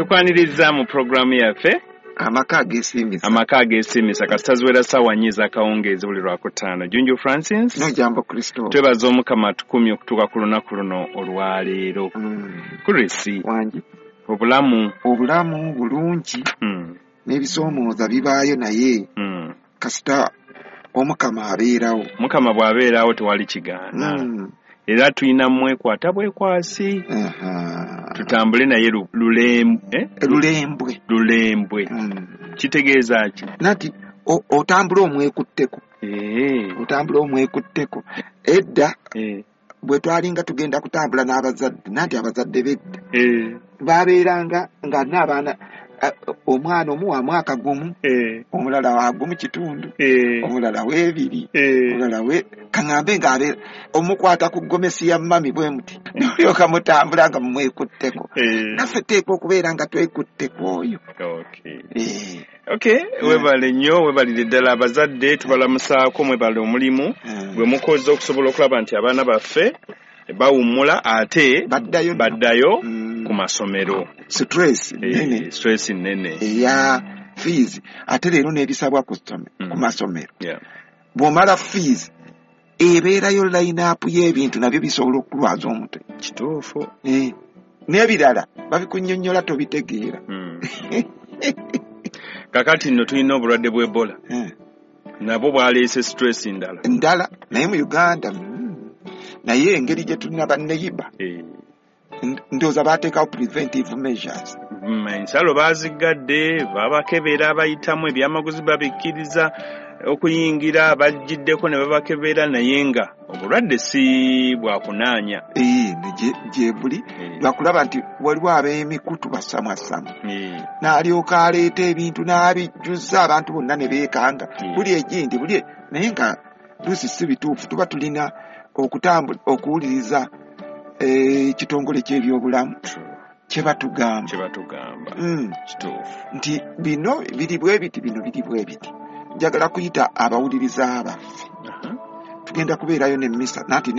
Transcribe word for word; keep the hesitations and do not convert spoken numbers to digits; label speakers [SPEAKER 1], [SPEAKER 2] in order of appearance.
[SPEAKER 1] Tukwaniriza mu pulogulaamu yaffe
[SPEAKER 2] Amaka Ageesiimisa.
[SPEAKER 1] Amaka Ageesiimisa, kasita ziwera ssaawa nnya ez'akawungeezi buli Lwakutaano. Junju Francis.
[SPEAKER 2] Nojambo Kristo.
[SPEAKER 1] Twebaza Omukama atukumye okutuuka ku lunaku luno olwaleero.
[SPEAKER 2] Mm.
[SPEAKER 1] Chris.
[SPEAKER 2] Wangi.
[SPEAKER 1] Obulamu?
[SPEAKER 2] Obulamu bulungi.
[SPEAKER 1] Mm.
[SPEAKER 2] N'ebisoomooza bibaayo, naye
[SPEAKER 1] Mm.
[SPEAKER 2] kasita Omukama abeerawo.
[SPEAKER 1] Mukama bw'abeerawo tewali kigaana.
[SPEAKER 2] Mm.
[SPEAKER 1] Era tulina mwekwata bwekwasi.
[SPEAKER 2] Aha.
[SPEAKER 1] Tutambule naye lu- lulem- eh?
[SPEAKER 2] Lulembwe.
[SPEAKER 1] Lulembwe.
[SPEAKER 2] Mm.
[SPEAKER 1] Kitegeeza ki?
[SPEAKER 2] Nati o- otambula omwekutteko.
[SPEAKER 1] Eh.
[SPEAKER 2] Otambula omwekutteko. Edda
[SPEAKER 1] Eh.
[SPEAKER 2] bwe twalinga tugenda kutambula n'abazadde, nanti abazadde b'edda
[SPEAKER 1] Eh.
[SPEAKER 2] babeeranga nga n'abaana, eh, omwana omu wa mwaka gumu,
[SPEAKER 1] Eh.
[SPEAKER 2] omulala wa gumu kitundu,
[SPEAKER 1] Eh.
[SPEAKER 2] omulala w'ebiri,
[SPEAKER 1] Eh.
[SPEAKER 2] omulala we kaŋŋambe ng'abeera omukwata ku gomesi ya mami bwe muti, n'olyoka mutambula nga mumwekutteko.
[SPEAKER 1] Eh.
[SPEAKER 2] Naffe teekwa okubeera nga twekutteko oyo.
[SPEAKER 1] Okay.
[SPEAKER 2] Eh.
[SPEAKER 1] Okay, webale nnyo, webalire ddala abazadde, tubalamusaako, mwebale omulimu
[SPEAKER 2] Eh.
[SPEAKER 1] gwe mukoze okusobola okulaba nti abaana baffe bawummula ate
[SPEAKER 2] baddayo nno.
[SPEAKER 1] Baddayo
[SPEAKER 2] Mm.
[SPEAKER 1] ku masomero.
[SPEAKER 2] Stress
[SPEAKER 1] Eh,
[SPEAKER 2] nnene.
[SPEAKER 1] Stress nnene.
[SPEAKER 2] Eya fees, ate leero n'ebisabwa ku ssome-
[SPEAKER 1] Mm.
[SPEAKER 2] ku masomero.
[SPEAKER 1] Yeah.
[SPEAKER 2] Bw'omala fees, ebeerayo line-up y'ebintu, nabyo bisobola okulwaza omutwe.
[SPEAKER 1] Kituufu.
[SPEAKER 2] Eh, n'ebirala babikunnyonnyola tobitegeera.
[SPEAKER 1] Mm. Kakati nno tulina obulwadde bw'Ebola.
[SPEAKER 2] Eh.
[SPEAKER 1] Nabwo bwaleese stress ndala.
[SPEAKER 2] Ndala, naye mu Uganda mm, naye engeri gye tulina banneyiba,
[SPEAKER 1] Eh.
[SPEAKER 2] ndowooza baateekawo preventive measures.
[SPEAKER 1] Mm, ensalo baaziggadde, babakebera abayitamu, ebyamaguzi babikkiriza okuyingira, bajjiddeko ne babakebera, naye nga obulwadde si bwakunaanya.
[SPEAKER 2] Eh, ne gye- gye buli
[SPEAKER 1] Eh.
[SPEAKER 2] lwakulaba nti waliwo ab'emikutu basamwassamu,
[SPEAKER 1] Eh.
[SPEAKER 2] n'alyoka aleeta ebintu n'abijjuza abantu bonna ne beekanga,
[SPEAKER 1] Mm.
[SPEAKER 2] buli egindi buli e- naye nga luusi si bituufu. Tuba tulina okutambula okuwuliriza eh, ekitongole ky'ebyobulamu kye batugamba.
[SPEAKER 1] Kye batugamba.
[SPEAKER 2] Mm.
[SPEAKER 1] Kituufu.
[SPEAKER 2] Nti bino biri bwe biti, bino biri bwe biti. Njagala kuyita abawuliriza baffe.
[SPEAKER 1] Aha.
[SPEAKER 2] Tugenda kubeerayo n'emmisa nanti.